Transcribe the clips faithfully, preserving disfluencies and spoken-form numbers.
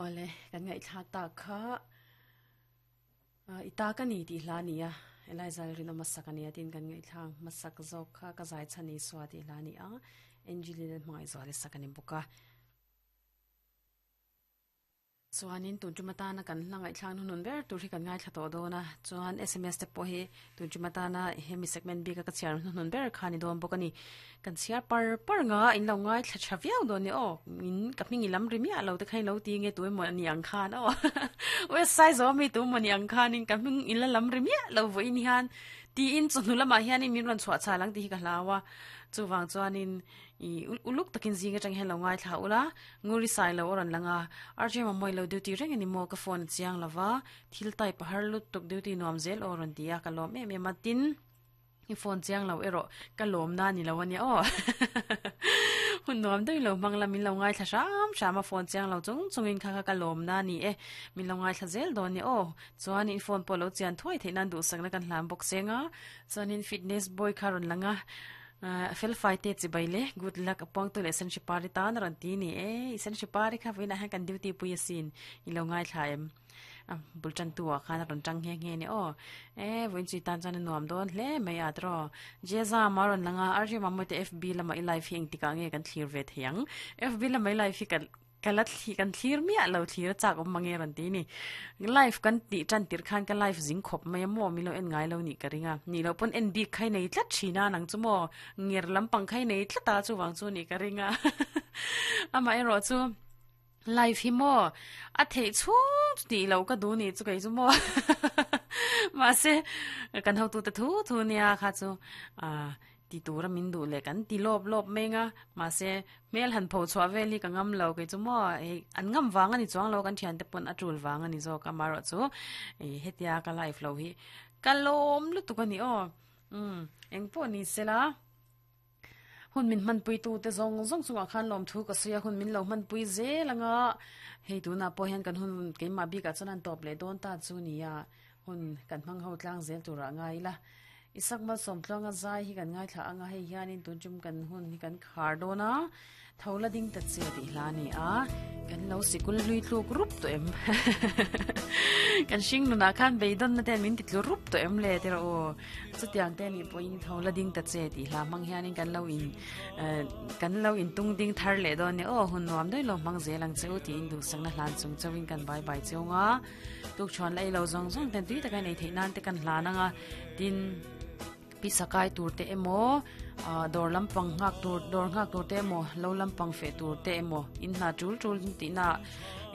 Ole kan ngai thla ta kha ita ka ni ti hla ni a Eliza rino masak ani atin kan ngai thlang masak zok kha ka zai chani swa ti hla ni a Angelina hmangai zawale sakani buka chuanin tun chumatana kan hlangai thlang hunun ber tur hi kan ngai thla to dona chuan S M S te pawh hi tun chumatana hemi segment bi ka ka chiar hunun ber khani don bawk ani kan chiar par par nga in lo ngai thla thaviau don ni o in ka hming lam ri mi a lo te khai lo ti nge tu mo ani ang khan o we size o mi tu mo ni ang khan in ka hming in la lam ri mi lo vo in hian ti in chu lama hian in min ran chhuah chalang ti hi ka hlawa chuwang chuanin i uluk takin zinga chang hen lo ngai thla ula nguri sai lo oran langa arje ma moi lo duty reng ani mo ka phone chiang lawa thil tai pahar lut tuk duty nuam zel oran tia ka lom em em matin i phone chiang lo ero ka lom na ni lo ani o hun nuam dei lo mangla min lo ngai thla sham shama phone chiang lo chung chungin kha kha ka lom na ni e min lo ngai thla zel don ni o chuan in phone polo chian thoi theinan du sakna kan hlam bok senga chuan in fitness boy kharon langa fel fight te chi baile good luck apong to lesson shipari tan ran ti ni e isen shipari kha vina han kan duty pui sin i lo ngai thla em bulchan tua khana ron tang nge nge ni o e voin chi tan chan nuam don hle mai atro jeza maron langa arje mamote F B lama i live hing tika nge kan thlir ve thiang F B lama i live hi kan kalat thi kan thlir mi lo thlir chak om mange ran ti ni live kan ti chan tir khan ka live jing khop mai mo mi lo en ngai lo ni ka ringa ni lo pon en bi khai nei tlat thina nang chu mo ngir lampang khai nei tlata chu wang chu ni ka ringa ama ero chu live hi mo a thei chu ti lo ka du ni chu kai chu mo ma se kan ho tu ta thu thu nia kha chu a ti tura min du le kan ti lop lop menga ma se mel han pho chwa veli ka ngam lo ke chu mo e an ngam wang ani chuang lo kan thian te pon atul wang ani zo ka maro chu e hetia ka life lo hi kalom lu tu ka ni o um eng po ni sela hun min man pui tu te zong zong chunga khan lom thu ka sia hun min lo man pui ze langa hei tu na po hian kan hun ke ma bi ka chuan top le don ta chu ni ya hun kan mang ho tlang zel tura ngai la isak ma som tlanga zai hi kan ngai thla anga hei hianin tun chum kan hun hi kan khar dona thola ding ta che ti hla ni a kan lo sikul lui tluk rup to em kan sing nu na khan beidon na ten min ti tlu rup to em le te ro chutiang te ni poin thola ding ta che ti hla mang hianin kan lo in kan lo in tung ding thar le don ni o hun nuam doi lo mang zelang cheu ti in du sang na hlan chung chawin kan bye bye cheunga tuk chon lai lo zong zong ten tui takai nei thei nan te kan hla na nga tin pisakai tur te emo dor lampang ngak tur dor ngak tur te emo lo lampang fe tur te emo in na chul chul ti na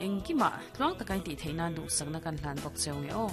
engkima tluang takai ti theina du sakna kan hlan bok cheu nge o.